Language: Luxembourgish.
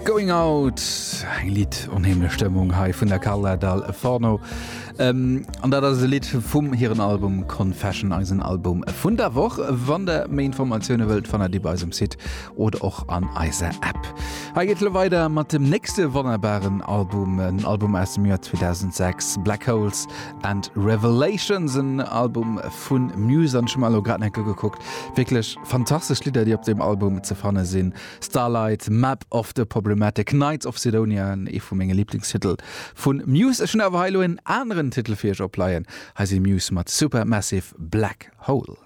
Going Out, eng Lidd onheemlech Stëmmung hei vun der Carla Dal Forno. Ähm, an dat ass e Lidd vum hiren Album Confession, eisen Album vun der Woch. Wann der méi Informatioune wëllt, fannt der déi bei eis um Site oder och an eiser App. Hei geet lo weider mat dem nächste wonnerbaren Album, en Album aus dem Joer 2006, Black Holes and Revelations, en Album vun Muse. An ech hu mer elo grad nach eng Kéier gekuckt, wierklech fantastesch Lidder, déi op deem Album ze fanne sinn. Starlight, Map of the Problematic, Knights of Cydonia, ee vu menge Liblingstitel vu Muse. Ech hunn awer hei elo en aneren Titel fir iech opleien. Hei si Muse mat Supermassive Black Hole.